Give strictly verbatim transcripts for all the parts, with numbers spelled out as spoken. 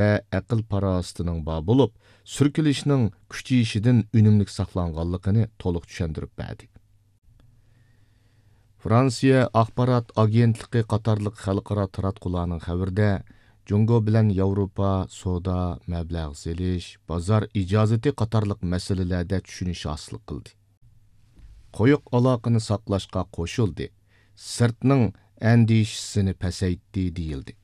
ۋە ئەقىل-پاراسىتىنىڭ بار بولۇپ، سۈركىلىشنىڭ كۈچىيىشىدىن ئۈنۈملۈك ساقلانغانلىقىنى تولۇق چۈشەندۈرۈپ بەردى. فرانسىيە ئاخبارات ئاگېنتلىقى قاتارلىق خەلقئارا تاراتقۇلارنىڭ خەۋىرىدە، جۇڭگو بىلەن ياۋروپا سودا، مەبلەغ سېلىش، بازار ئىجازىتى قاتارلىق مەسىلىلەردە چۈشىنىش ھاسىل قىلدى. قويۇق ئالاقىنى ساقلاشقا قوشۇلدى، سىرتنىڭ ئەندىشىسىنى پەسەيتتى، دېيىلدى.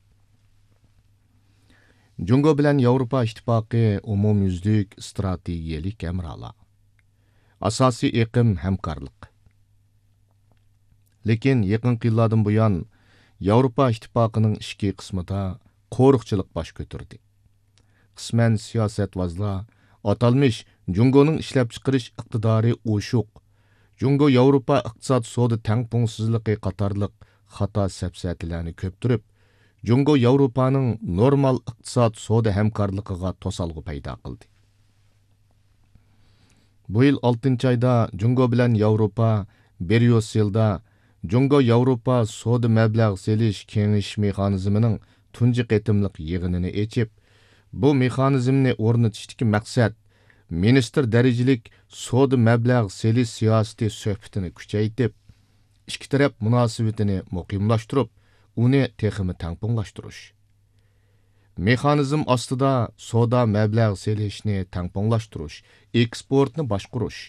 جۇڭگو بىلەن ياۋروپا ئىتتىپاقى ئومۇميۈزلۈك ئىستراتېگىيەلىك ھەمراھلار. ئاساسىي ئېقىم ھەمكارلىق. لېكىن يېقىنقى يىللاردىن بۇيان، ياۋروپا ئىتتىپاقىنىڭ ئىچكى قىسمىدا قورۇقچىلىق باش كۆتۈردى. قىسمەن سىياسەتۋازلار ئاتالمىش جۇڭگونىڭ ئىشلەپچىقىرىش ئىقتىدارى ئوشۇق، جۇڭگو ياۋروپا ئىقتىساد سودا تەڭپۇڭسىزلىقى قاتارلىق خاتا سەپسەتىلەرنى كۆپتۈرۈپ، جۇڭگو ياۋروپانىڭ نورمال ئىقتىساد سودا ھەمكارلىقىغا توسالغۇ پەيدا قىلدى. بۇ يىل ئالتىنچى ئايدا جۇڭگو بىلەن ياۋروپا بريۇسسېلدا جۇڭگو ياۋروپا سودا مەبلەغ سېلىش كېڭىشىش مېخانىزمىنىڭ تۇنجى قېتىملىق يىغىنىنى ئېچىپ، بۇ مېخانىزمنى ئورنىتىشتىكى مەقسەت مىنىستىر دەرىجىلىك سودا مەبلەغ سېلىش سىياسىتى سۆھبىتىنى كۈچەيتىپ، ئىككى تەرەپ مۇناسىۋىتىنى مۇقىملاشتۇرۇپ، ئۇنى تېخىمۇ تەڭپۇڭلاشتۇرۇش. مېخانىزم ئاستىدا سودا مەبلەغ سېلىشنى تەڭپۇڭلاشتۇرۇش، ئېكسپورتنى باشقۇرۇش،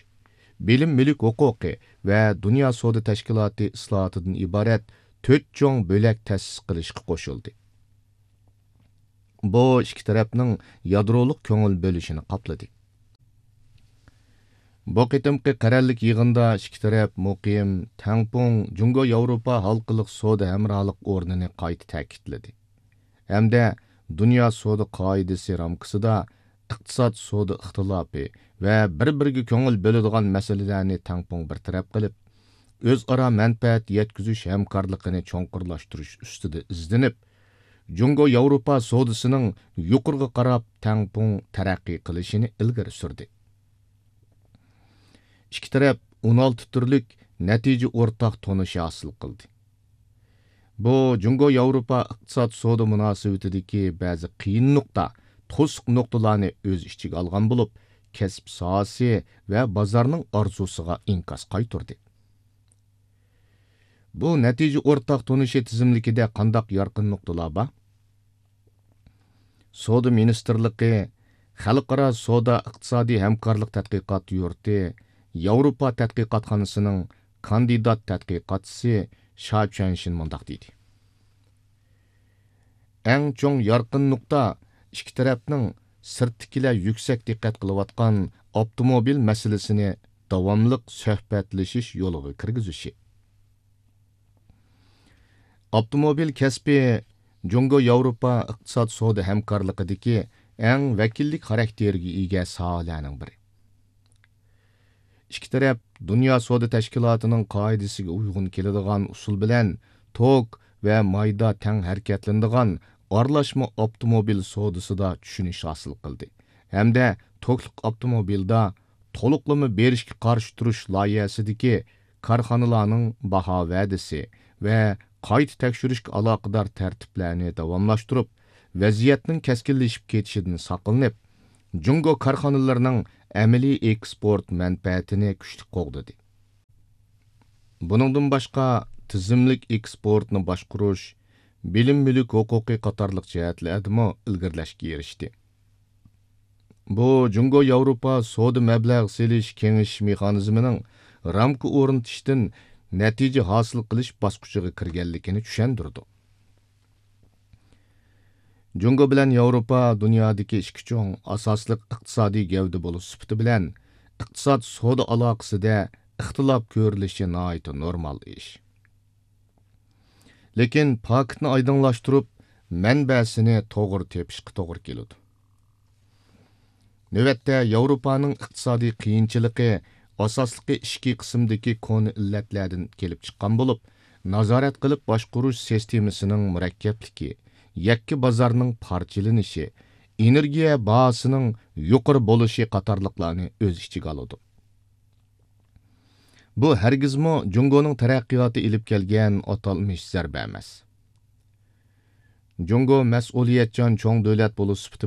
بىلىم مۈلۈك ھوقۇقى ۋە دۇنيا سودا تەشكىلاتى ئىسلاھاتىدىن ئىبارەت تۆت چوڭ بۆلەك تەسىس قىلىشقا قوشۇلدى. بۇ ئىككى تەرەپنىڭ يادرولۇق كۆڭۈل بۆلۈشىنى قاپلىدى. بۇ قېتىمقى قەرەللىك يىغىندا ئىككى تەرەپ مۇقىم، تەڭپۇڭ، جۇڭگو ياۋروپا ھالقىلىق سودا ھەمراھلىق ئورنىنى قايتا تەكىتلىدى ھەمدە دۇنيا سودا قائىدىسى رامكىسىدا ئىقتىساد سودا ئىختىلاپى ۋە بىر-بىرىگە كۆڭۈل بۆلىدىغان مەسىلىلەرنى تەڭپۇڭ بىر تەرەپ قىلىپ، ئۆزئارا مەنپەئەت يەتكۈزۈش ھەمكارلىقىنى چوڭقۇرلاشتۇرۇش ئۈستىدە ئىزدىنىپ، جۇڭگو ياۋروپا سودىسىنىڭ يۇقىرىغا قاراپ تەڭپۇڭ تەرەققىي قىلىشىنى ئىلگىرى سۈردى. ئىككى تەرەپ ئون ئالتە تۈرلۈك نەتىجە ئورتاق تونۇشى ھاسىل قىلدى. بۇ جۇڭگو ياۋروپا ئىقتىساد سودا مۇناسىۋىتىدىكى بەزى قىيىن نۇقتا، توسۇق نۇقتىلارنى ئۆز ئىچىگە ئالغان بولۇپ، كەسىپ ساھەسى ۋە بازارنىڭ ئارزۇسىغا ئىنكاس قايتۇردى. بۇ نەتىجە ئورتاق تونۇشى تىزىملىكىدە قانداق يارقىن نۇقتىلار بار؟ سودا مىنىستىرلىقى، خەلقئارا سودا ئىقتىسادىي ھەمكارلىق تەتقىقات يۇرتى، ياۋروپا تەتقىقاتخانىسىنىڭ كاندىدات تەتقىقاتچىسى شا چۈەنشىن مۇنداق دېدى: ئەڭ چوڭ يارقىن نۇقتا، ئىككى تەرەپنىڭ سىرتتىكىلەر يۈكسەك دىققەت قىلىۋاتقان ئاپتوموبىل مەسىلىسىنى داۋاملىق سۆھبەتلىشىش يولىغا كىرگۈزۈشى. ئاپتوموبىل كەسپى جۇڭگو ياۋروپا ئىقتىساد سودا ھەمكارلىقىدىكى ئەڭ ۋەكىللىك خاراكتېرىگە ئىگە ساھەلەرنىڭ بىرى. ئىككى تەرەپ دۇنيا سودا تەشكىلاتىنىڭ قائىدىسىگە ئۇيغۇن كېلىدىغان ئۇسۇل بىلەن توك ۋە مايدا تەڭ ھەرىكەتلىنىدىغان ئارىلاشما ئاپتوموبىل سودىسىدا چۈشىنىش ھاسىل قىلدى ھەمدە توكلۇق ئاپتوموبىلدا تولۇقلىما بېرىشكە قارشى تۇرۇش لايىھەسىدىكى كارخانىلارنىڭ باھا ۋەدىسى ۋە قايتا تەكشۈرۈشكە ئالاقىدار تەرتىپلەرنى داۋاملاشتۇرۇپ، ۋەزىيەتنىڭ كەسكىنلىشىپ كېتىشىدىن ساقلىنىپ، جۇڭگو كارخانىلىرىنىڭ ئەمەلىي ئېكسپورت مەنپەئەتىنى كۈچلۈك قوغدىدى. بۇنىڭدىن باشقا، تىزىملىك ئېكسپورتنى باشقۇرۇش، بىلىم مۈلۈك ھوقۇقى قاتارلىق جەھەتلەردىمۇ ئىلگىرىلەشكە ئېرىشتى. بۇ جۇڭگو ياۋروپا سودا مەبلەغ سېلىش كېڭىشىش مېخانىزمىنىڭ رامكا ئورنىتىشتىن نەتىجە ھاسىل قىلىش باسقۇچىغا كىرگەنلىكىنى چۈشەندۈرىدۇ. جۇڭگو بىلەن ياۋروپا دۇنيادىكى ئىككى چوڭ ئاساسلىق ئىقتىسادىي گەۋدە بولۇش سۈپىتى بىلەن، ئىقتىساد سودا ئالاقىسىدە ئىختىلاپ كۆرۈلۈشى ناھايىتى نورمال ئىش. لېكىن پاكىتنى ئايدىڭلاشتۇرۇپ، مەنبەسىنى توغرا تېپىشقا توغرا كېلىدۇ. نۆۋەتتە ياۋروپانىڭ ئىقتىسادىي قىيىنچىلىقى ئاساسلىقى ئىچكى قىسىمدىكى كونا ئىللەتلەردىن كېلىپ چىققان بولۇپ، نازارەت قىلىپ باشقۇرۇش سىستېمىسىنىڭ مۇرەككەپلىكى، يەككە بازارنىڭ پارچىلىنىشى، ئېنېرگىيە باھاسىنىڭ يۇقىرى بولۇشى قاتارلىقلارنى ئۆز ئىچىگە ئالىدۇ. بۇ ھەرگىزمۇ جۇڭگونىڭ تەرەققىياتى ئېلىپ كەلگەن ئاتالمىش زەربە ئەمەس. جۇڭگو مەسئۇلىيەتچان چوڭ دۆلەت بولۇش سۈپىتى